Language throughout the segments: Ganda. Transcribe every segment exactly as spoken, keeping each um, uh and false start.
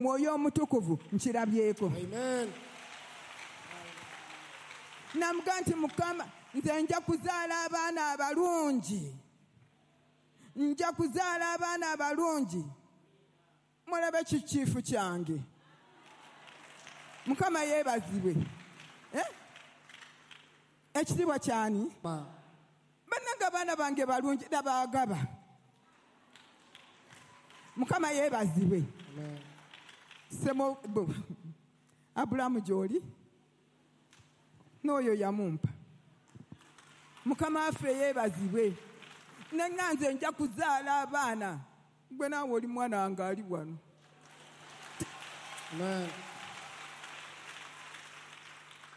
Mwoyo Omutukuvu nkirabyeko. Amen. Namuga nti Mukama, nze nja kuzaala abaana abalungi, nja kuzaala abaana abalungi. Mulabe kikiifu kyange. Mukama yeebazibwe. Eh? Ekitiibwa kyani? Bannange abaana bange balungi, nabaagaba. Mukama yeebazibwe. Amen. Semo Abulamu gy'oli n'oyo yamumpa. Mukama waffe yeebazibwe. Nenga nze nja kuzaala abaana. Gwe naawe oli mwana wange ali wano. Amen.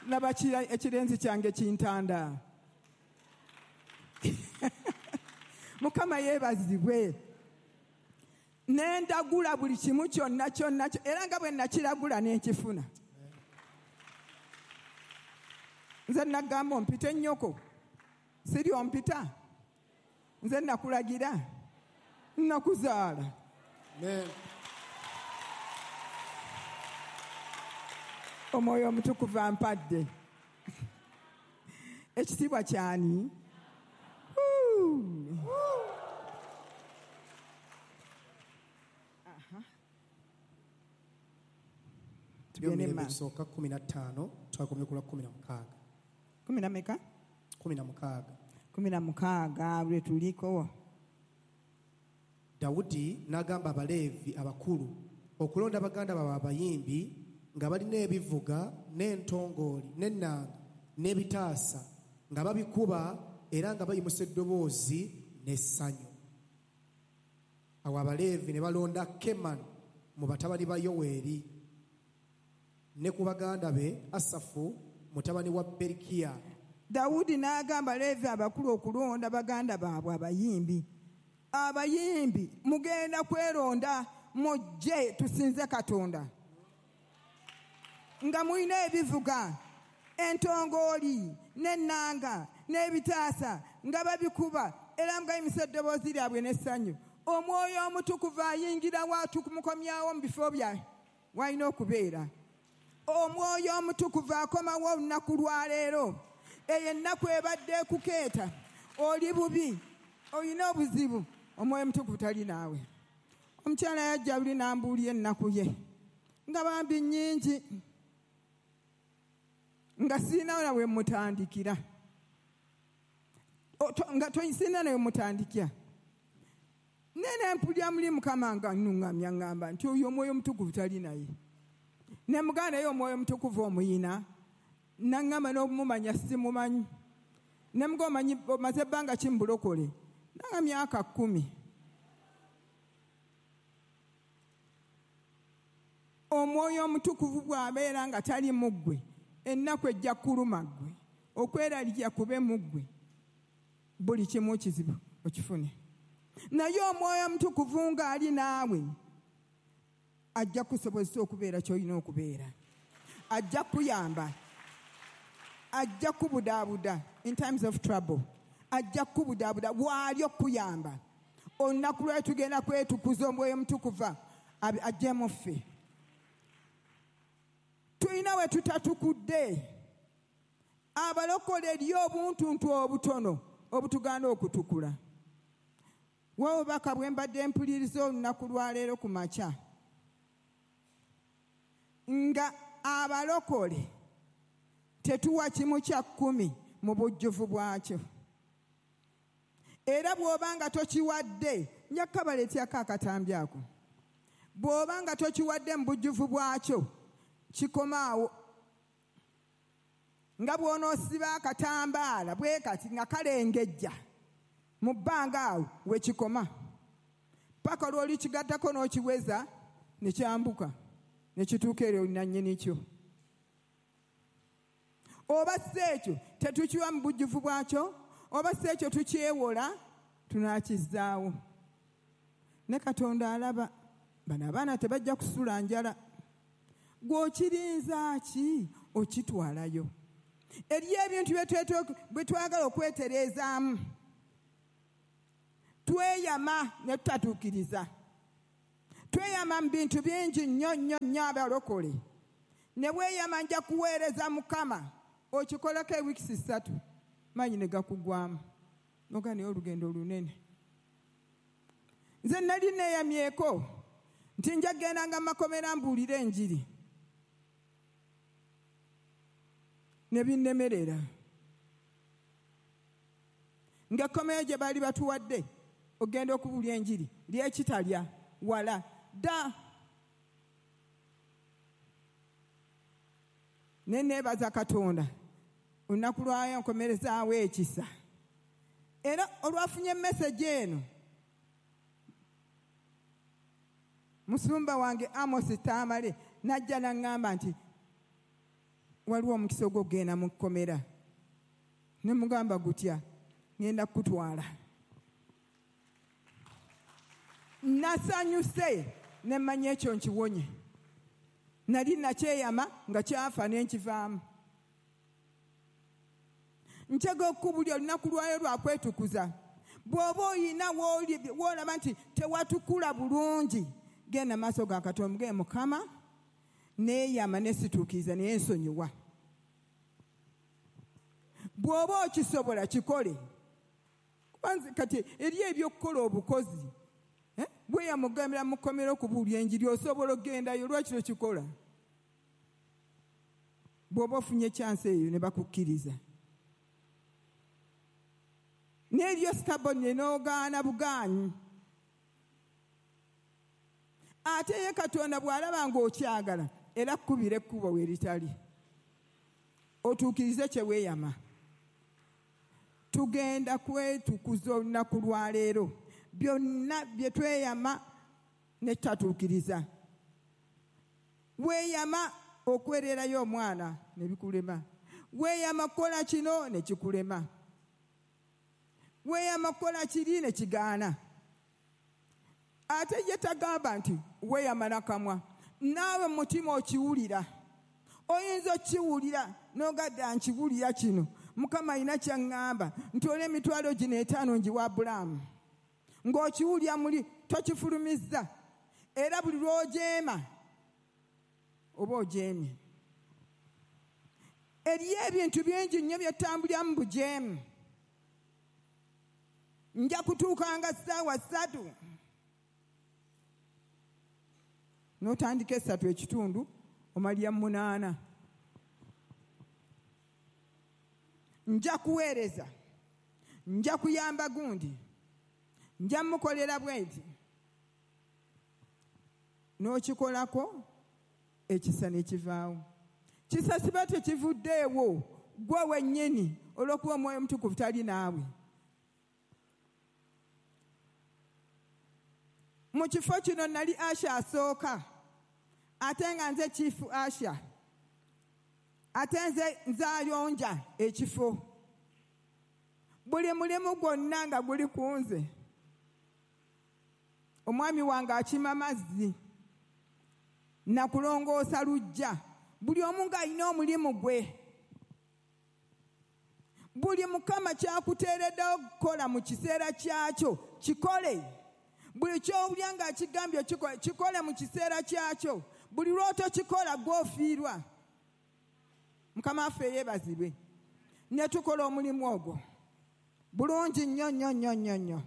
Laba ekirenzi kyange kintanda. Mukama yeebazibwe. Nendagula buli kimu kyonna kyonna, era nga bwe nakiragula n'enkifuna. Nze nagamba ompite ennyoko, siri ompita. Nze nakulagira, nakuzaala. Amen. Omwoyo Omutukuvu ampadde. Ekitiibwa kyani? Tugende kisooka kumi na ttaano twakomye ku lwa kumi na mukaaga. Kumi na meka? Kumi na mukaaga. Kumi na mukaaga lwe tuliko. Dawudi n'agamba Abaleevi abakulu okulonda baganda baabwe abayimbi nga balina ebivuga n'entongooli n'ennanga n'ebitaasa nga babikuba era nga bayimusa eddoboozi n'essanyu. Awo Abaleevi ne balonda Kemani mu batabani ba Yoweeri ne ku baganda be Asafu mutabani wa Berikiya. Dawudi n'agamba Leevi abakulu okulonda baganda baabwe abayimbi. Abayimbi mugenda kweronda, mujje tusinze Katonda. Nga mulina ebivuga, entongooli n'ennanga n'ebitaasa nga babikuba era nga bayimusa eddoboozi lyabwe n'essanyu. Omwoyo Omutukuvu ayingirawo atumukomyawo mu bifo bya walina okubeera. Omwoyo Omutukuvu akomawo olunaku lwaleero. Eyo ennaku ebadde ekukeeta, oli bubi, olina obuzibu, Omwoyo Omutukuvu tali naawe. Omukyala yajja buli n'ambuulira ennaku ye nga bambi nnyingi, nga sirina na we mutandikira, nga sirina na we mutandikira. Nene mpulira muli Mukama nga nnuŋŋamya ŋŋamba nti oyo Omwoyo Omutukuvu tali naye. Ne muganda naye Omwoyo Omutukuvu omuyina, naŋŋamba n'obumumanya simumanyi. Ne muga omanyi omaze ebbanga ki mu bulokole? Nanga myaka kkumi. Omwoyo Omutukuvu bw'abeera nga tali mu ggwe, ennaku ejja kuluma ggwe, okweraliikirira kube mu ggwe, buli kimu kizibu okifune. Naye Omwoyo Omutukuvu ng'ali naawe ajja kusobozesa okubeera ky'olina okubeera, ajja kuyamba, ajja kubudaabuda in times of trouble, ajja kubudaabuda waali okuyamba. Olunaku lwe tugenda kwetukuza Omwoyo Omutukuvu ajje mu ffe. Tulina we tutatukudde. Abalokole eri obuntuntu obutono obutugaana okutukula. W'obubaka bwe mbadde mpuliriza olunaku lwaleero ku makya, nga abalokole tetuwa kimu kya kkumi mu bujjuvu bwakyo. Era bw'oba nga tokiwadde, nja kukabaleetyako akatambi ako. Bw'oba nga tokiwadde mu bujjuvu bwakyo, kikomaawo. Nga bw'onoosiba akatambaala bwe kati nga kalengejja mu bbanga awo we kikoma, paka lw'olikigattako n'okiweza ne kyambuka ne kituuka eri nannyini kyo. Oba si ekyo tetukiwa mu bujjuvu bwakyo, oba si ekyo tukyewola, tunaakizzaawo. Ne Katonda alaba bano abaana tebajja kusula njala. Gw'okirinza ki okitwalayo? Eriyo ebintu bye twagala okwetereezaamu, tweyama ne tutatuukiriza. Tweyama mu bintu bingi nnyo nnyo nnyo abalokole. Ne weeyama nja kuweereza Mukama, okikolako ewiikisi ssatu, maanyi ne gakugwamu. Noga naye olugendo olunene. Nze nali neeyamyeko nti nja kugendanga mu makomera mbuulire enjiri. Ne binnemerera. Ng'ekkomera gye baali batuwadde ogenda okubuulira enjiri lyekitalya wala dda. Ne neebaza Katonda olunaku lwayo nkomerezaawo ekisa. Era olwafunye message eno, musumba wange Amos Tamale n'ajja n'aŋŋamba nti waliwo omukisa ogw'okugenda mu kkomera. Ne mugamba gutya, ŋŋenda kukutwala. Nasanyuse ne mmanya ekyo nkiwonye. Nali nakyeyama nga kyafa ne nkivaamu. Nkyega okukubulya olunaku lwayo lwa kwetukuza. Bw'oba oyina w'olaba nti tewatukula bulungi, genda maaso ga Katonda omugambe Mukama, neeyama ne situukiriza naye nsonyiwa. Bw'oba okisobola kikole. Kubanza kati eri ebyokukola obukozi. Eh? Bwe yamugambira mu kkomera okubuulira enjiri osobola okugendayo, lwaki tokikola? Bw'oba ofunye chance eyo ne bakukkiriza. N'eryo stubborn n'ogaana bugaanyi. Ate ye Katonda bw'alaba ng'okyagala era akkubira ekkubo we litali. Otuukirize kye weeyama. Tugenda kwetukuza olunaku lwa leero. Byonna bye tweyama ne tutatuukiriza. Weeyama okwererayo omwana ne bikulema. Weeyama kukola kino ne kikulema. Weeyama kukola kiri ne kigaana. Ate ye tagamba nti weeyama nakamwa. Naawe mu mutima okiwulira. Oyinza okiwulira n'ogadda nkiwulira kino. Mukama alina ky'aŋŋamba nti olwo emitwalo gino etaano ngiwa Abulaamu. Ng'okiwulira muli tokifulumizza. Era buli lw'ojeema oba ojeemye. Eriyo ebintu bingi nnyo bye tutambulira mu bujeemu. Nja kutuukanga ssaawa ssatu. N'otandika essatu ekitundu omalya munaana. Nja kuweereza, nja kuyamba gundi, nja mukolera bwenti. N'okikolako ekisa ne kivaawo. Kisa siba tekivuddeewo ggwe wennyini olw'okuba Omwoyo Omutukuvu tali naawe. Mu kifo kino nali Asha asooka, ate nga nze Chief Asha, ate nze nzayonja ekifo. Buli mulimu gwonna nga guli ku nze. Omwami wange akima mazzi nakulongoosa luggya. Buli omu ng'alina omulimu gwe. Buli Mukama kyakuteereddewo okukola mu kiseera kyakyo kikole. Buli ky'owulira ng'akigambye kikole, kikole mu kiseera kyakyo. Buli lw'otokikola gw'ofiirwa. Mukama waffe yeebazibwe. Ne tukola omulimu ogwo bulungi nnyo nnyo nnyo nnyo nnyo.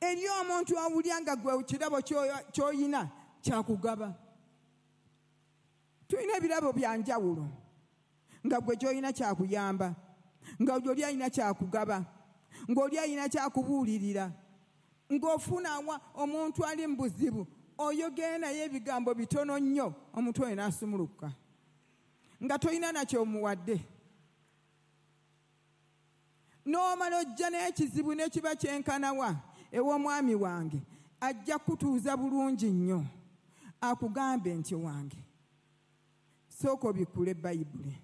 Eri omuntu awulira nga gwe kirabo ky'oyina kyakugaba. Tulina ebirabo bya njawulo nga gwe ky'olina kyakuyamba, nga oli alina kyakugaba, ng'oli alina kyakubuulirira, ng'ofuna omuntu ali mu buzibu oyogera naye ebigambo bitono nnyo omuntu oyo n'asumulukuka nga tolina nakyomuwadde. N'omala ojja n'ekizibu n'ekiba kyenkanawa ew'omwami wange ajja kutuuza bulungi nnyo akugambe nti wange sooka obikkule Bayibuli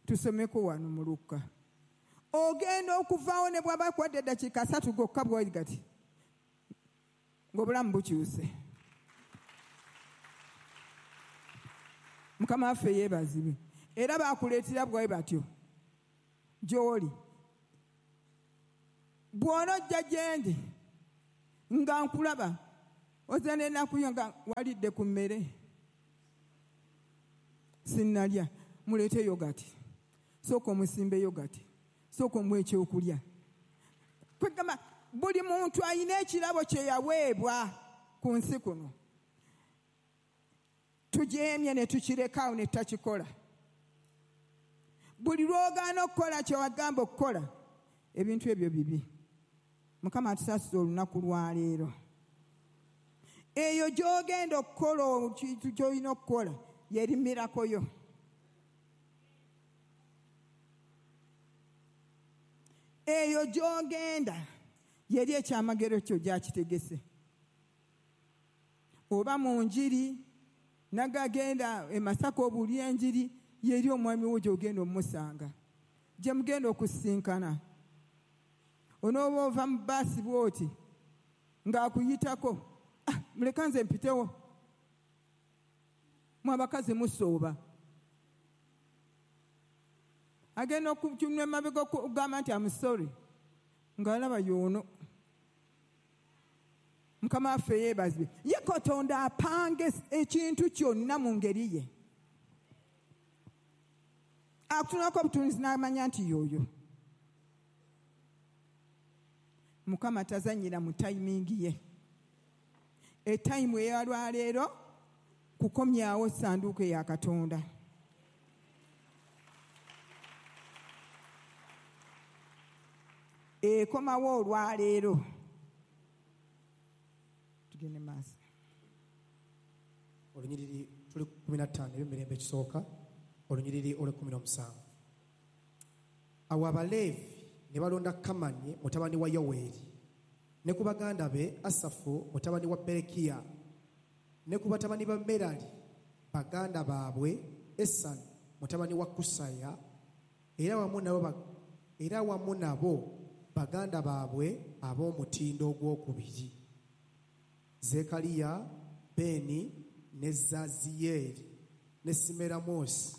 tusomeko wano mu Lukka. Ogenda okuvaawo ne bw'aba akuwadde eddakiika asatu gokka bw'oli gati ng'obulamu bukyuse. Mukama waffe yeebazibwe. Era baakuleetera bwe batyo gy'oli. Bw'onojja gye ndi Nga nkulaba ozana ennaku yo nga walidde ku mmere. Sinnalya, muleete yogati. Sooka omusimbe yogati. Sooka omuwe ekyokulya. Kwegamba buli muntu alina ekirabo kye yaweebwa ku nsi kuno. Tujeemye ne tukirekawo ne tutakikola. Buli lw'ogaana okukola kye wagamba okukola, ebintu ebyo bibi. Mukama atusaasire olunaku lwa leero. Eyo gy'ogenda okukola ekintu ky'olina okukola yerimirako yo. Eyo gy'ogenda yeri ekyamagero kyo gyakitegese. Oba mu njiri, nagagenda e Masaka obuulira enjiri, yeri omwami wo gy'ogenda omusanga. Gye mugenda okusinkana. Onooba ova mu bbaasi bw'oti ng'akuyitako, ah, muleka nze mpitewo. Mwe abakazi musooba. Agenda okutunula emabega okugamba nti I'm sorry, ng'alaba y'ono. Mukama waffe yeebazibwe. Ye Katonda apanga ekintu kyonna mu ngeri ye. Akutunulako obutunzi n'amanya nti y'oyo. Mukama tazannyira mu tayimingi ye. Etayimu ey'olwaleero kukomyawo ssanduuko ya Katonda. Ekomawo olwaleero. Tugende maaso. Olunyiriri tuli ku kkumi na ttaano eby'emirembe ekisooka, olunyiriri olw'ekkumi n'omusanvu. Awo Abaleevi ne balonda Kamani mutabani wa Yoweeri, ne ku baganda be Asafu mutabani wa Berekiya, ne ku batabani ba Merali baganda baabwe Esani mutabani wa Kusaya, era wamu nabo era wamu nabo baganda baabwe ab'omutindo ogwokubiri, Zekaliya, Beni ne Zaziyeeri ne Simeramosi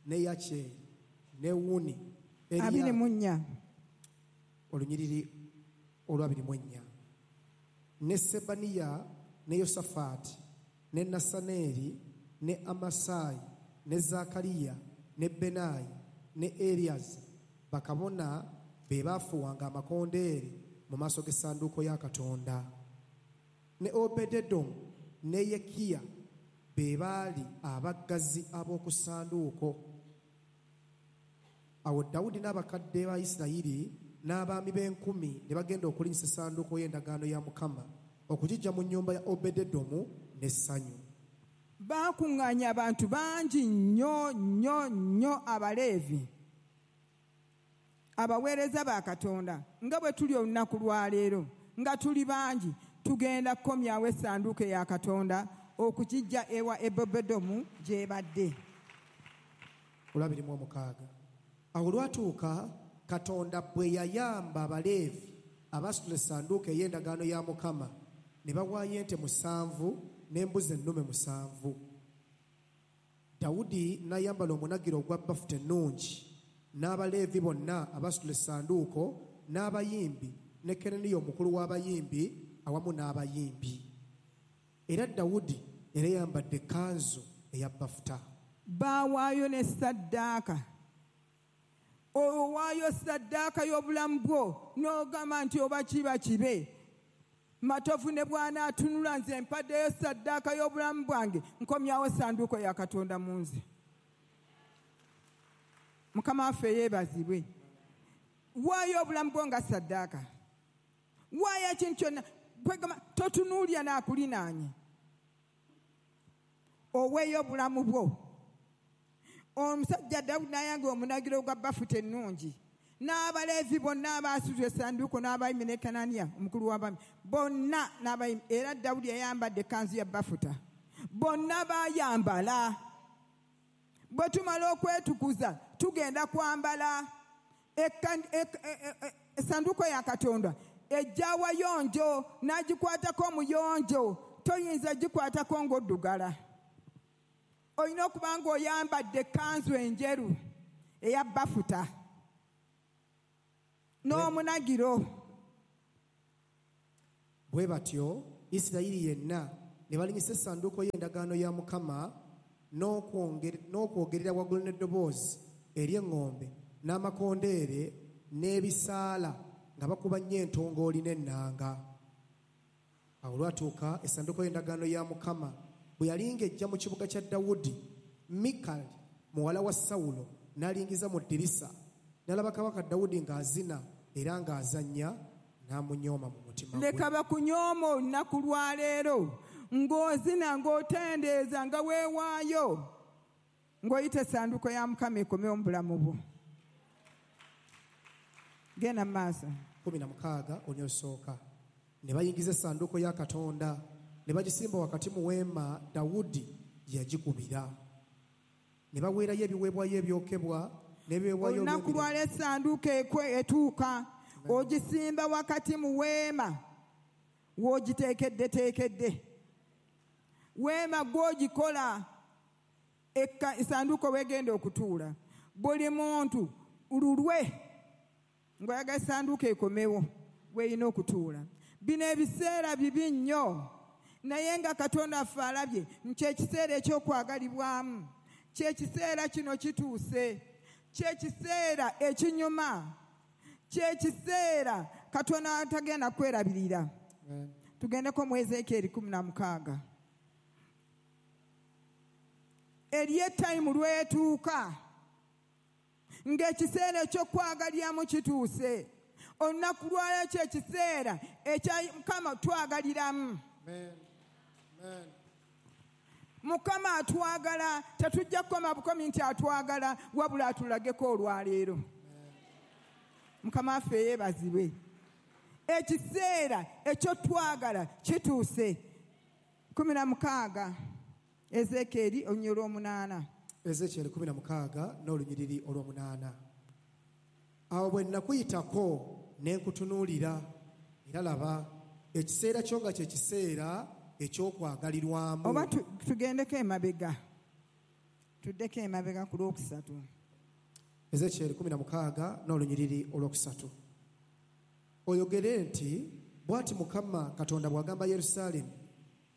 ne Yakyeri ne Wuni abiri mu nnya. Olunyiriri olw'abiri mu ennya. Ne Sebaniya ne Yosafaati ne Nasaneeri ne Amasayi ne Zakariya ne Benayi ne Eriyaza bakabona be baafuuwanga amakondeere mu maaso g'essanduuko ya Katonda. Ne Obededomu ne Yekiya be baali abaggazi ab'oku ssanduuko. Awo Dawudi n'abakadde ba Isirayiri n'abaami b'enkumi ne bagenda okulinnyisa essanduuko y'endagaano ya Mukama okugiggya mu nnyumba ya Obededomu n'essanyu. Baakuŋŋaanya abantu bangi nnyo nnyo nnyo Abaleevi, abaweereza ba Katonda, nga bwe tuli olunaku lwa leero, nga tuli bangi, tugenda kukomyawo essanduuko ya Katonda okugiggya ewa Obededomu gy'ebadde. Olw'abiri mu omukaaga. Awo olwatuuka Katonda bwe yayamba Abaleevi abasitula essanduuko ey'endagaano ya Mukama, ne bawaayo ente musanvu n'embuzi ennume musanvu. Dawudi n'ayambala omunagiro ogwa bafuta ennungi, n'Abaleevi bonna abasitula essanduuko, n'abayimbi, ne Kenaniya omukulu w'abayimbi awamu n'abayimbi. Era Dawudi yali ayambadde ekkanzu eya bafuta. Baawaayo ne ssaddaaka. Owaayo ssaddaaka y'obulamu bwo n'ogamba nti oba kiba kibe. Matovu ne bw'anaatunula nze mpaddeyo ssaddaaka y'obulamu bwange, nkomyawo ssanduuko ya Katonda mu nze. Mukama waffe yeebazibwe. Waayo obulamu bwo nga ssaddaaka. Waayo ekintu kyonna. Kwegamba totunuulya n'akulinaanye. Oweeyo obulamu bwo. Omusajja Dawudi n'ayanga omunagiro gwa bafuta ennungi. N'Abaleevi bonna abaasitula essanduuko n'abayimbi ne Kananiya omukulu w'abaami bonna n'abayimbi. Era Dawudi yayambadde ekkanzu ya bafuta. Bonna baayambala. Bwe tumala okwetukuza tugenda kwambala essanduuko ya Katonda. Ejja wayonjo n'agikwatako omuyonjo, toyinza gikwatako ng'oddugala. Olina okuba ng'oyambadde ekkanzu enjeru eya bafuta n'omunagiro. Bwe batyo Isirayiri yenna ne balinyisa essanduuko y'endagaano ya Mukama n'okwogerera waggulu n'eddoboozi ery'eŋŋombe n'amakondeere n'ebisaala nga bakuba nnyo entongooli n'ennanga. Awo olwatuuka essanduuko y'endagaano ya Mukama bwe yali ng'ejja mu kibuga kya Dawudi, Mikali muwala wa Sawulo n'alingiza mu ddirisa n'alaba kabaka Dawudi ng'azina era ng'azannya, n'amunyooma mu mutima gwe. Leka bakunyooma olunaku lwa leero ng'ozina, ng'otendeeza, nga weewaayo, ng'oyita essanduuko ya Mukama ekomewo mu bulamu bwo. Genda mu maaso. Kumi na mukaaga onyosooka. Ne bayingiza essanduuko ya Katonda ne bagisimba wakati mu weema Dawudi gye yagikubira. Ne baweerayo ebiweebwayo ebyokebwa n'ebiweebwayo Olunaku lwaleero essanduuko etuuka, ogisimba wakati mu weema w'ogiteekeddeteekedde. Weema gw'ogikola essanduuko w'egenda okutuula. Buli muntu lulwe ng'oyagala essanduuko ekomewo w'erina okutuula. Bino ebiseera bibi nnyo, naye nga Katonda affe alabye nti ekiseera eky'okwagalibwamu, kyekiseera kino kituuse, kyekiseera ekinyuma, kyekiseera Katonda atagenda kwerabirira. Tugendeko mu Ezeekyeri kumi na mukaaga. Eriyo etayimu lwetuuka ng'ekiseera eky'okwagaliramu kituuse. Olunaku lwaleero kyekiseera ekya Mukama twagaliramu. Mukama atwagala, tetujja kukoma bukomi nti atwagala, wabula atulageko olwaleero. Mukama affe yeebazibwe. Ekiseera eky'otwagala kituuse. Kumi na mukaaga Ezeekyeri olunyiriri olw'omunaana. Ezeekyeri kumi na mukaaga n'olunyiriri olw'omunaana. Awo bwe nakuyitako ne nkutunuulira, era laba ekiseera kyo nga kye kiseera eky'okwagalirwamu. Oba tugendeko emabega, tuddeko emabega ku lwokusatu. Ezeekyeri kumi na mukaaga n'olunyiriri olwokusatu. Oyogere nti bw'ati Mukama Katonda bw'agamba Yerusaalemi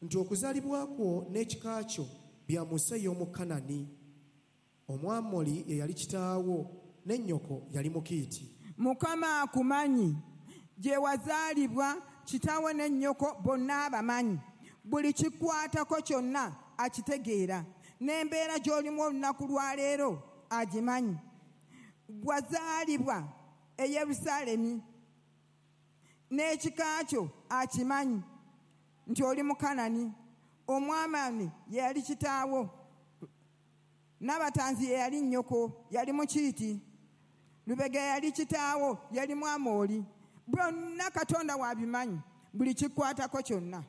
nti okuzaalibwa kwo n'ekika kyo bya mu nsi ey'omu Kanani. Omwamoli ye yali kitaawo ne nnyoko yali Mukiiti. Mukama akumanyi gye wazaalibwa, kitaawo ne nnyoko bonna abamanyi. Buli kikwatako kyonna akitegeera, n'embeera gy'olimu olunaku lwa leero agimanyi. Wazaalibwa e Yerusaalemi n'ekika kyo akimanyi nti oli Mukanani. Omwamani ye yali kitaawo, n'abatanzi ye yali nnyoko, yali Mukiiti. Lubega yali kitaawo, yali Mwamoli. Byonna Katonda wabimanyi, buli kikwatako kyonna.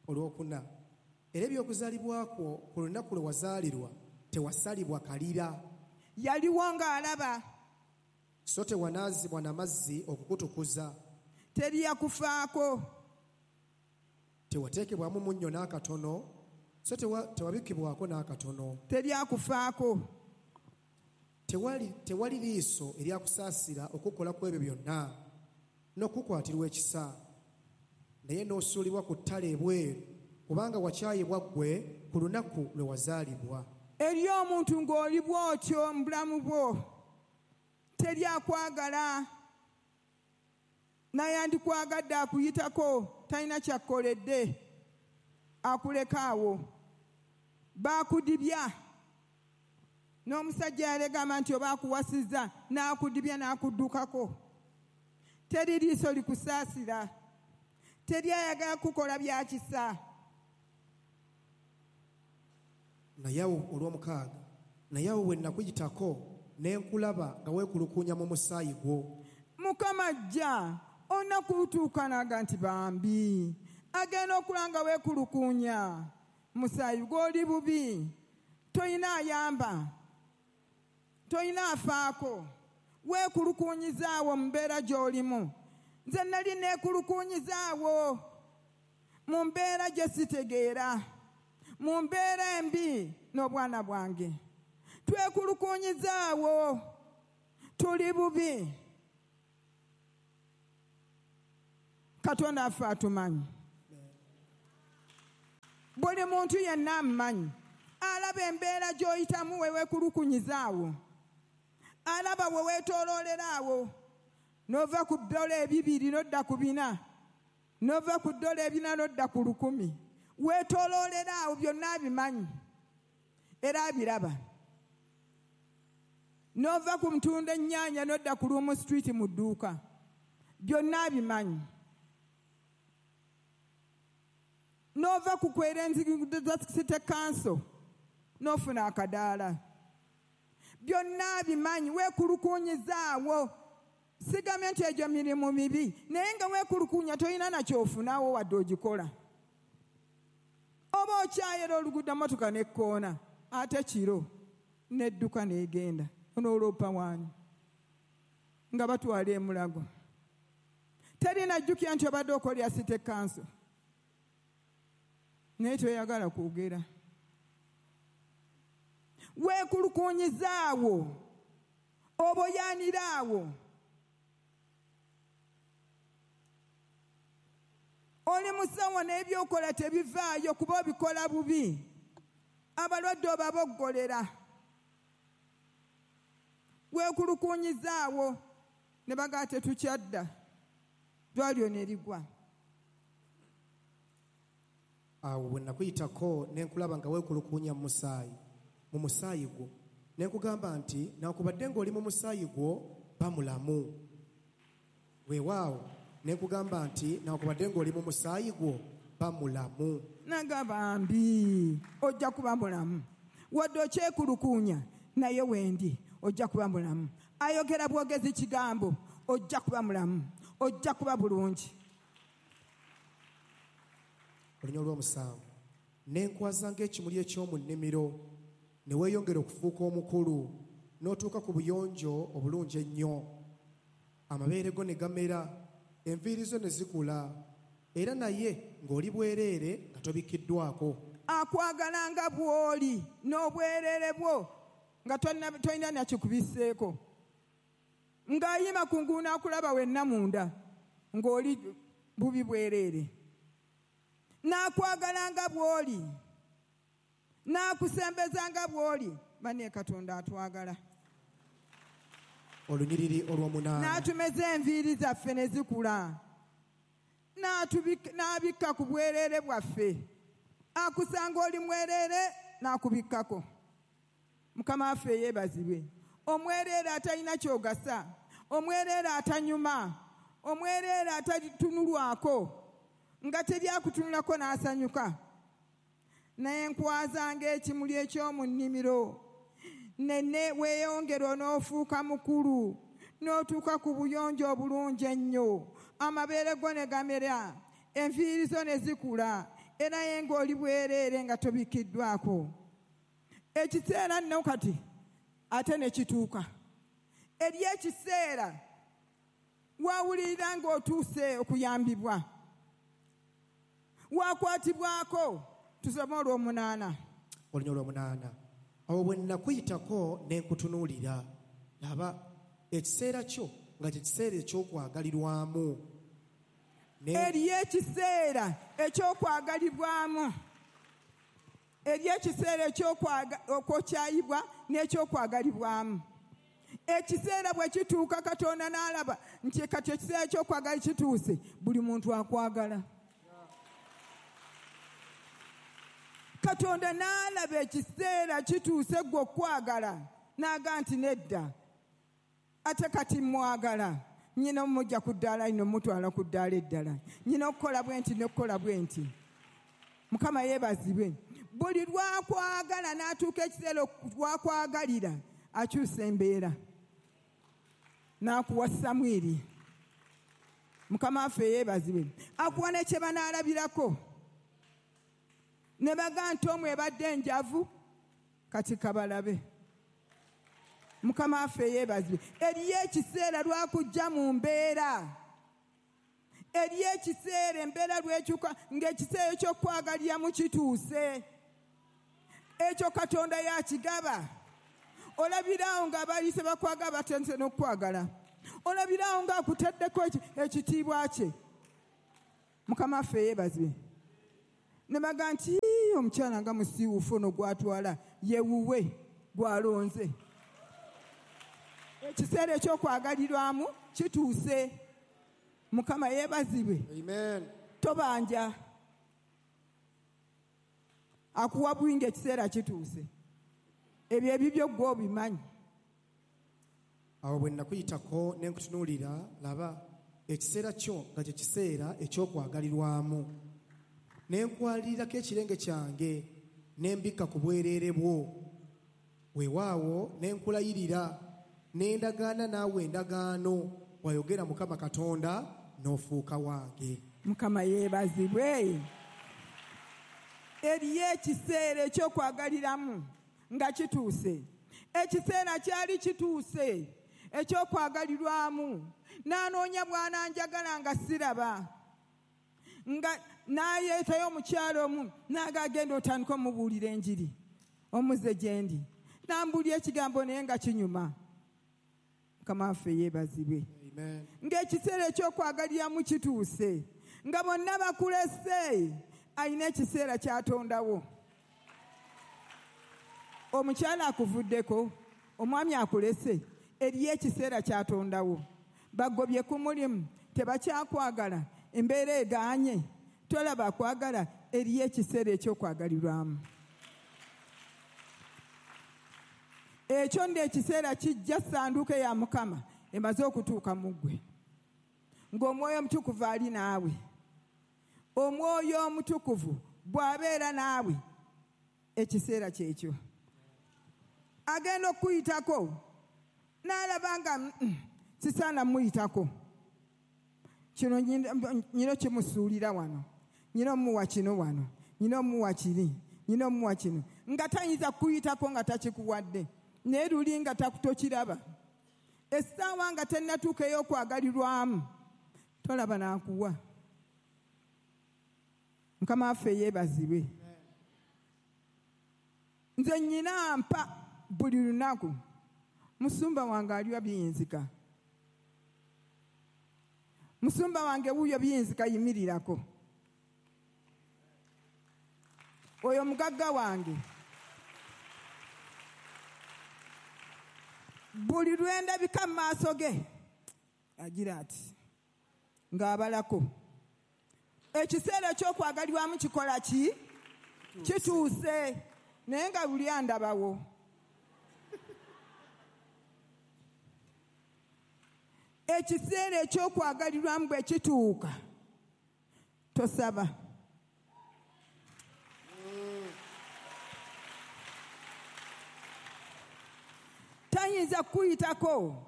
Olwokuna, era eby'okuzaalibwa kwo ku lunaku lwe wazaalirwa tewasalibwa kalira. Yaliwo ng'alaba. So tewanaazibwa n'amazzi okukutukuza. Teri yakufaako. Tewateekebwamu munnyo n'akatono, so tewabikkibwako n'akatono. Teri akufaako. Tewali, tewali liiso eryakusaasira okukola ku ebyo byonna n'okukwatirwa ekisa, naye n'osuulibwa ku ttale ebweru, kubanga wakyayibwa ggwe ku lunaku lwe wazaalibwa. Eri omuntu ng'oli bw'otyo mu bulamu bwo, teri akwagala, naye andikwagadde akuyitako, talina kyakkoledde, akuleka awo. Baakudibya. N'omusajja yalegamba nti oba akuwasizza, n'akudibya n'akuddukako. Teri liiso likusaasira, teri ayagala kukola bya kisa. Naye awo olw'omukaaga, naye awo bwe nakuyitako ne nkulaba nga weekulukuunya mu musaayi gwo. Mukama ajja olunaku lutuuka n'aga nti bambi agenda okula nga weekulukuunya musaayi gw'oli bubi, toyina ayamba, toyina afaako, weekulukuunyizaawo mu mbeera gy'olimu. Nze nali neekulukuunyizaawo mu mbeera gye sitegeera, mu mbeera embi n'obwana bwange. Twekulukuunyizaawo, tuli bubi. Katonda affe atumanyi. Buli muntu yenna amumanyi. Alaba embeera gy'oyitamu we weekulukunyiza awo. Alaba we weetooloolera awo. N'ova ku ddola ebibiri n'odda ku bina. N'ova ku ddola ebina n'odda ku lukumi. Weetooloolera awo byonna abimanyi. Era abiraba. N'ova ku mutunda ennyaanya n'odda ku Lumu Street mu dduuka. Byonna abimanyi. N'ova ku kwera enzigo za City Council n'ofuna akadaala. Byonna abimanyi. Weekulukunyiza awo. Sigambye nti egyo mirimu mibi, naye nga weekulukunya tolina nakyofunawo wadde ogikola. Oba okyayera oluguudo emmotoka n'ekkoona, ate kiro n'edduka n'egenda. Onooloopa waani nga batwala emulago. Teri najjukira nti obadde okolera City Council, naye toyagala kwogera. Weekulukunyiza awo, oboyaanira awo. Oli musawo n'ebyokola tebivaayo kuba obikola bubi. Abalwadde obaboggolera. Weekulukunyiza awo ne bagamba tetukyadda. Ddwaliro ne ligwa. Awo bwe nakuyitako ne nkulaba nga weekulukunya mu musaayi, mu musaayi gwo. Ne nkugamba nti nakubadde ng'oli mu musaayi gwo bamulamu. Weewaawo ne nkugamba nti nakubadde ng'oli mu musaayi gwo bamulamu. Nagamba mbi ojja kuba mulamu. Wadde okyekulukunya naye wendi ojja kuba mulamu. Ayogera bwogezi kigambo ojja kuba mulamu, ojja kuba bulungi. Olunya olw'omusanvu. Ne nkwaza ng'ekimuli eky'omu nnimiro, ne weeyongera okufuuka omukulu, n'otuuka ku buyonjo obulungi ennyo. Amabeere go ne gamera, enviiri zo ne zikula, era naye ng'oli bwereere nga tobikkiddwako. Akwagala nga bw'oli n'obwereere bwo nga tolina nakikubiseeko. Ng'ayima ku nguuno akulaba wenna munda ng'oli bubi bwereere. N'akwagala nga bw'oli, n'akusembeza nga bw'oli. Banne Katonda atwagala. Olunyiriri olw'omunaana. N'atumeza enviiri zaffe ne zikula. N'abikka ku bwereere bwaffe. Akusanga oli mwereere n'akubikkako. Mukama waffe yeebazibwe. Omwereere atalina ky'ogasa, omwereere atanyuma, omwereere atatunulwako, nga teri akutunulako n'asanyuka. Naye nkwaza ng'ekimuli eky'omu nnimiro, nene weeyongera n'ofuuka mukulu, n'otuuka ku buyonjo obulungi ennyo. Amabeere go ne gamera, enviiri zo ne zikula, era ye ng'oli bwereere nga tobikkiddwako. Ekiseera nno kati ate ne kituuka. Eri ekiseera wawulirira ng'otuuse okuyambibwa, wakwatibwako. Tusome olw'omunaana. Olunya olw'omunaana. Awo bwe nakuyitako ne nkutunuulira, laba ekiseera kyo nga kye kiseera eky'okwagalirwamu. Eriyo ekiseera eky'okwagalibwamu. Eriyo ekiseera eky'okwokyayibwa n'eky'okwagalibwamu. Ekiseera bwe kituuka Katonda n'alaba nti kati ekiseera eky'okwagala kituuse, buli muntu akwagala. Katonda n'alaba ekiseera kituuse gwe okwagala, n'aga nti nedda, ate kati mwagala. Nnyina omujja ku ddaala lino mutwala ku ddaala eddala. Nnyina okukola bwe nti n'okukola bwe nti. Mukama yeebazibwe. Buli lwakwagala n'atuuka ekiseera lwakwagalira, akyusa embeera. N'akuwa Samwiri. Mukama waffe yeebazibwe. Akuwa ne kye banaalabirako. Ne bagamba nti omwe ebadde enjavu, kati kabalabe. Mukama waffe yeebazibwe. Eriyo ekiseera lwakujja mu mbeera. Eriyo ekiseera embeera lwekyuka ng'ekiseera eky'okwagaliramu kituuse. Ekyo Katonda yakigaba. Olabiraawo ng'abalise bakwagala batandise n'okukwagala. Olabiraawo ng'akutaddeko ekitiibwa kye. Mukama waffe yeebazibwe. Ne baga nti omukyala nga musiiwuufu ono gw'atwala ye wuwe gw'alonze. Ekiseera eky'okwagalirwamu kituuse. Mukama yeebazibwe. Amen. Tobanja. Akuwa bwingi ekiseera kituuse. Ebyo ebibyo ggwe obimanyi. Awo bwe nakuyitako ne nkutunuulira, laba ekiseera kyo nga kye kiseera eky'okwagalirwamu. Ne nkwalirirako ekirenge kyange ne mbikka ku bwereere bwo. Weewaawo ne nkulayirira ne ndagaana naawe endagaano, bw'ayogera Mukama Katonda, n'ofuuka wange. Mukama yeebazibwe. Eriyo ekiseera eky'okwagaliramu nga kituuse. Ekiseera kyali kituuse eky'okwagalirwamu. N'anoonya bw'ananjagala nga siraba. Nga n'ayeetayo omukyalo omu n'agagenda otandika omubuulira enjiri omuze gye ndi. N'ambuulira ekigambo naye nga kinyuma. Mukama waffe yeebazibwe. Amen. Ng'ekiseera eky'okwagaliramu kituuse, nga bonna bakulese, alina ekiseera ky'atondawo. Omukyala akuvuddeko, omwami akulese, eriyo ekiseera ky'atondawo. Bagobye ku mulimu, tebakyakwagala, embeera egaanye, tolaba akwagala, eriyo ekiseera eky'okwagalirwamu. Ekyo nno ekiseera kijja ssanduuko ya Mukama emaze okutuuka mu ggwe. Ng'Omwoyo Omutukuvu ali naawe. Omwoyo Omutukuvu bw'abeera naawe, ekiseera kyekyo. Agenda okuyitako n'alaba nga sisaana muyitako. Kino nyina kimusuulira wano, nyina omuwa kino wano, nyina omuwa kiri, nyina omuwa kino. Nga tayinza kuyitako nga takikuwadde, naye luli nga tokiraba. Essaawa nga tennatuuka ey'okwagalirwamu, tolaba n'akuwa. Mukama waffe yeebazibwe. Nze nnyina mpa buli lunaku. Musumba wange aliwa biyinzika. Musumba wange wuuyo biyinzika yimirirako. Oyo mugagga wange. Buli lwe ndabika mu maaso ge agira ati ng'abalako. Ekiseera eky'okwagalirwamu kikola ki? Kituuse. Naye nga buli andabawo. Ekiseera eky'okwagalirwamu bwe kituuka, tosaba. Tayinza kuyitako.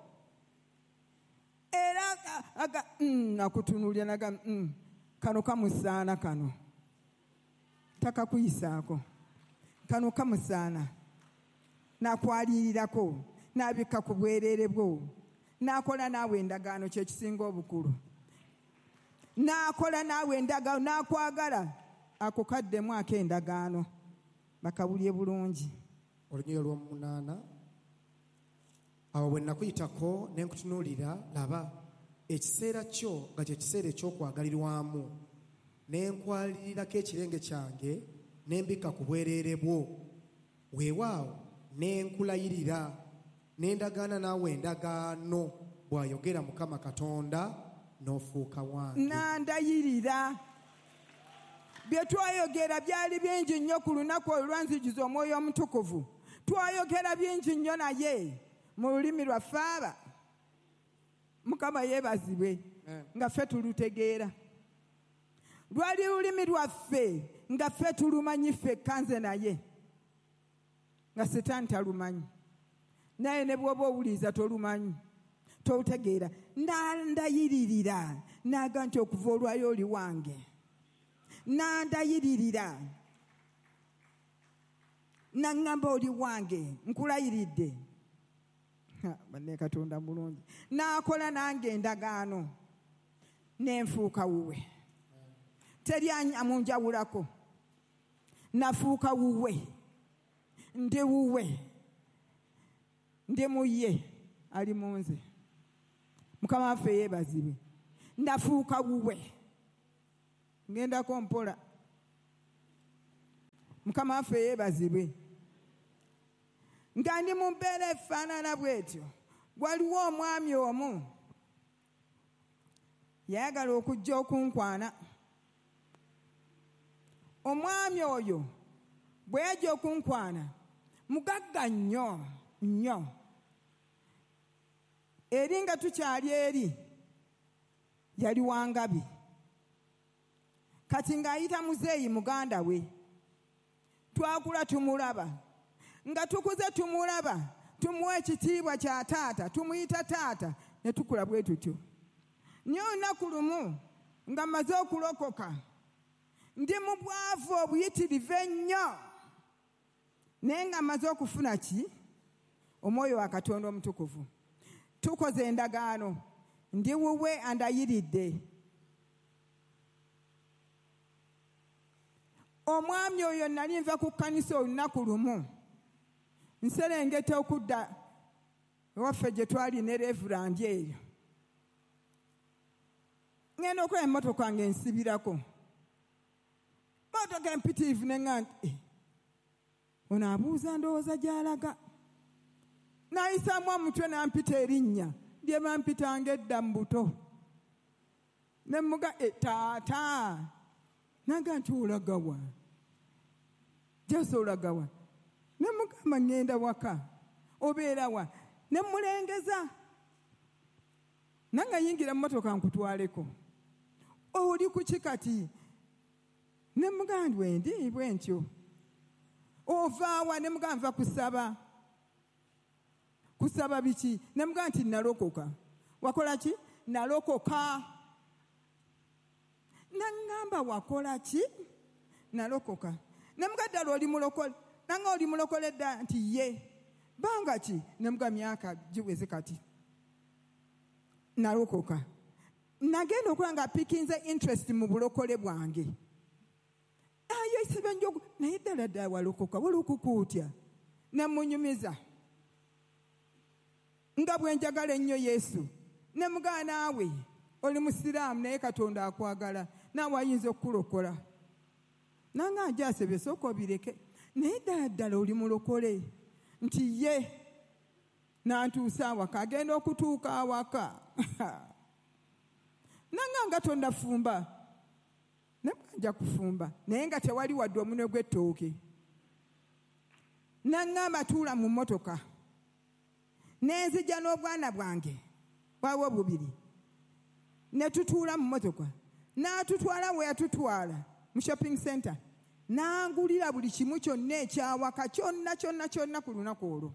Era aga mm, akutunuulira naga mm, kano kamusaana kano. Takakuyisaako. Kano kamusaana. N'akwalirirako, n'abikka ku bwereere bwo. N'akola naawe endagaano kye kisinga obukulu. N'akola naawe endagaano, n'akwagala. Ako kaddemu ak'endagaano. Bakawulye bulungi. Olunyiriri olw'omunaana. Awo bwe nakuyitako ne nkutunuulira, laba ekiseera kyo nga kye kiseera eky'okwagalirwamu. Ne nkwalirirako ekirenge kyange ne mbikka ku bwereere bwo. Weewaawo ne nkulayirira ne ndagaana naawe endagaano, bw'ayogera Mukama Katonda, n'ofuuka wange. Nandayirira. Bye twayogera byali bingi nnyo ku lunaku olwanzijuza Omwoyo Omutukuvu. Twayogera bingi nnyo naye mu lulimi lwaffe aba. Mukama yeebazibwe nga ffe tulutegeera. Lwali lulimi lwaffe nga ffe tulumanyi ffekka nze naye, nga Setaani talumanyi. Naye ne bw'oba owuliriza tolumanyi, tolutegeera. Nandayiririra n'aga nti okuva olwayo oli wange. Nandayiririra n'aŋŋamba oli wange, nkulayiridde. Banne Katonda mulungi. N'akola nange endagaano ne nfuuka wuwe. Teri amunjawulako. Nafuuka wuwe. Ndi wuwe. Ndi mu ye, ali mu nze. Mukama waffe yeebazibwe. Nafuuka wuwe. Ngendako mpola. Mukama waffe yeebazibwe. Nga ndi mu mbeera efaanana bw'etyo, waliwo omwami omu yayagala okujja okunkwana. Omwami oyo bwe yajja okunkwana, mugagga nnyo nnyo. Eri nga tukyali eri, yali wangabi. Kati ng'ayita muzeeyi muganda we. Twakula tumulaba. Nga tukuze tumulaba, tumuwa ekitiibwa kya taata, tumuyita taata, ne tukula bwe tutyo. Naye olunaku lumu nga mmaze okulokoka, ndi mu bwavu obuyitirivu ennyo, naye nga mmaze okufuna ki? Omwoyo wa Katonda Omutukuvu. Tukoze endagaano, ndi wuwe andayiridde. Omwami oyo nali nva ku kkanisa olunaku lumu, nserengeta okudda ewaffe gye twali ne Reverend eyo. Ngenda okulaba emmotoka ng'ensibirako. Mmotoka empitirivu ne ŋŋamba nti, ono abuuza ndowooza gy'alaga. N'ayisaamu omutwe n'ampita erinnya lye bampitanga edda mu buto. Ne mmuga, taata. N'agamba nti olagawa? Jasi olagawa? Ne mugamba ŋŋenda waka. Obeera wa? Ne mmulengeza. Nange yingira mu mmotoka nkutwaleko. Oli ku ki kati? Ne mugamba nti bwe ndi bwe ntyo. Ova wa? Ne mugamba nva kusaba. Kusaba biki? Ne mugamba nti nalokoka. Wakola ki? Nalokoka. Nangamba wakola ki? Nalokoka. Ne mugamba ddala oli mulokole. Nanga oli mulokole dda nti ye. Banga ki? Ne mugamba myaka giweze kati. Nalokoka. Nagenda okulaba nga pikinze interest mu bulokole bwange. Ayo isibe njogu naye ddala ddala walokoka walokoka otya? Ne munyumiza. Nga bwe njagala ennyo Yesu. Ne mugamba naawe oli musiraamu naye Katonda akwagala, naawe ayinza okukulokola. Nanga ajja asebye sooka obireke. Naye ddala ddala oli mulokole nti ye. Nantuusa awaka, agenda okutuuka awaka. Nanga nga tondafumba. Ne nja kufumba naye nga tewali wadde omunwe gw'ettooke. Nangamba tuula mu mmotoka. Nenzija n'obwana bwange bwawo bubiri. Ne tutuula mu mmotoka. N'atutwala we yatutwala mu shopping center. N'angulira buli kimu kyonna ekyawaka kyonna kyonna kyonna ku lunaku olwo.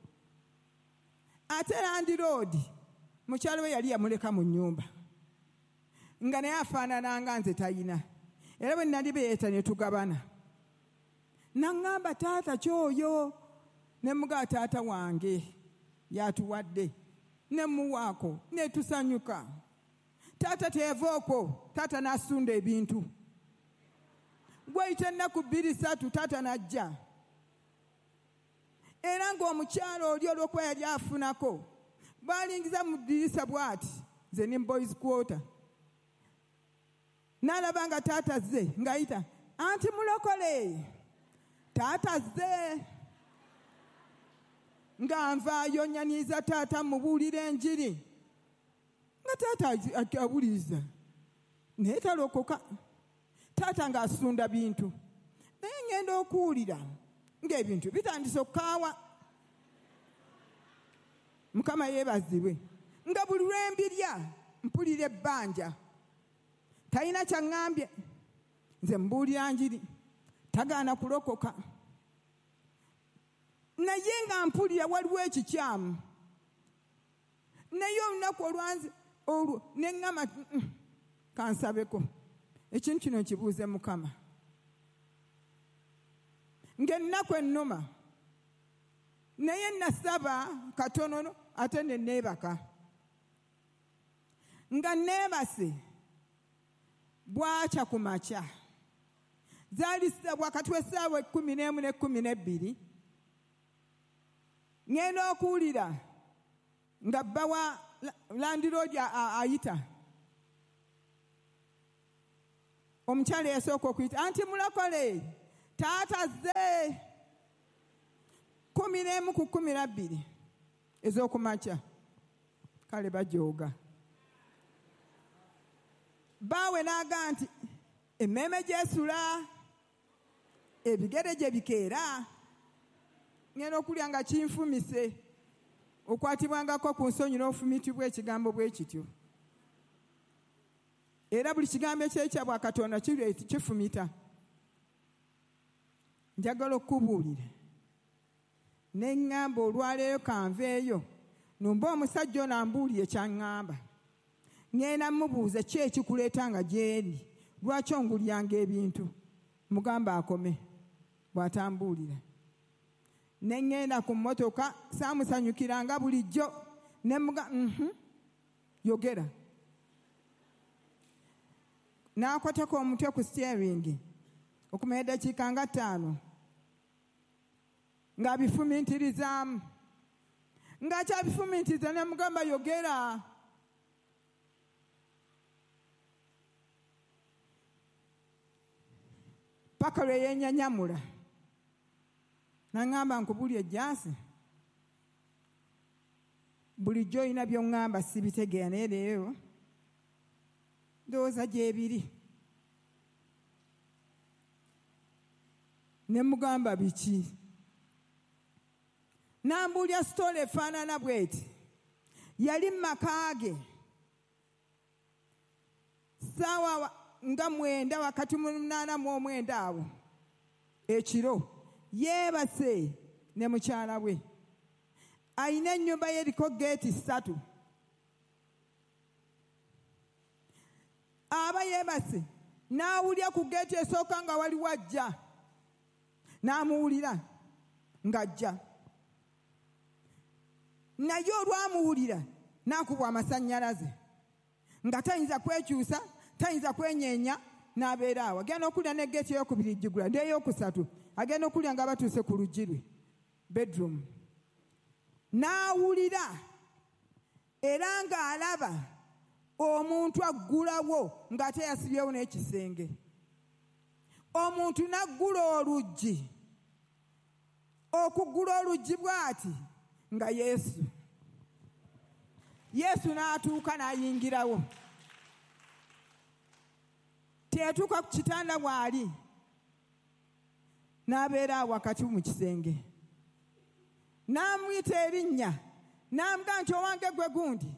Ate landiroodi mukyala we yali yamuleka mu nnyumba. Nga naye afaanana nga nze tayina. Era bwe nali beeyeta ne tugabana. N'aŋŋamba taata ky'oyo. Ne mugamba taata wange yatuwadde. Ne muwaako ne tusanyuka. Taata teyava okwo, taata n'asunda ebintu. Gwayita ennaku bbiri ssatu taata n'ajja. Era ng'omukyala oli olw'okuba yali afunako, bw'alingiza mu ddirisa bw'ati, nze ne boys quarter. N'alaba nga taata azze, ng'ayita, anti mulokole, taata azze. Nga nvaayo nnyaniza taata mmubuulira enjiri. Nga taata awuliriza, naye talokoka. Taata ng'asunda bintu. Naye ngenda okuwulira ng'ebintu bitandise okukaawa. Mukama yeebazibwe. Nga buli lwe mbirya mpulira ebbanja. Talina kyaŋŋambye. Nze mbuulira njiri. Tagaana kulokoka. Naye nga mpulira waliwo ekikyamu. Naye olunaku olwanze olwo ne ŋŋamba kansabeko. Ekintu kino nkibuuze Mukama. Ng'ennaku ennuma. Naye nasaba katono ate ne neebaka. Nga neebase bwakya ku makya. Zaali wakati w'essaawa ekkumi n'emu n'ekkumi n'ebbiri. Ngenda okuwulira nga bba wa landiroodi ayita. Omukyala eyasooka okuyita anti mulokole taata azze kumi n'emu ku kkumi na bbiri ez'okumakya. Kale bajooga. Baawe n'aga nti emmeeme gyesula, ebigere gye bikeera, ngenda okulya nga kinfumise. Okwatibwangako ku nsonyi n'ofumitibwa ekigambo bwe kityo. Era buli kigambo ekyekya bwa Katonda kifumita. Njagala okukubuulira. Ne ŋŋamba olwaleero kanveeyo, numba omusajja ono ambuulire ky'aŋŋamba. Ŋŋenda mmubuuza ki ekikuleeta nga gy'eri, lwaki ongulyanga ebintu? Mugamba akome, bw'atambuulira. Ne ŋŋenda ku mmotoka, saamusanyukiranga bulijjo, ne muga, mhm, yogera. N'akwatako omutwe ku steering okumala eddakiika nga ttaano ng'abifumiitirizaamu. Ng'akyabifumiitiriza ne mugamba yogera. Paka lwe yennyanyamula. N'aŋŋamba nkubulye ejjaasi. Bulijjo olina by'oŋŋamba sibitegeera naye leero ndowooza gy'ebiri. Ne mugamba biki? N'ambuulya sitoola efaanana bw'eti. Yali mu maka ge. Ssaawa nga mwenda wakati mu munaana mu omwenda awo ekiro yeebase ne mukyala we. Ayina ennyumba ye eriko geeti ssatu. Aba yeebase n'awulira ku geeti esooka nga waliwo ajja. N'amuwulira ng'ajja. Naye olwamuwulira n'akubwa amasannyalaze nga tayinza kwekyusa, tayinza kwenyeenya, n'abeera awo. Agenda okulya ne geeti ey'okubiri gigula n'ey'okusatu. Agenda okulya nga batuuse ku luggi lwe bedroom. N'awulira era ng'alaba omuntu aggulawo ng'ate yasibyewo n'ekisenge. Omuntu n'aggula oluggi. Okuggula oluggi bw'ati nga Yesu. Yesu n'atuuka n'ayingirawo. Teyatuuka ku kitanda bw'ali, n'abeera awo wakati mu kisenge. N'amuyita erinnya, n'amugamba nti owange gwe gundi.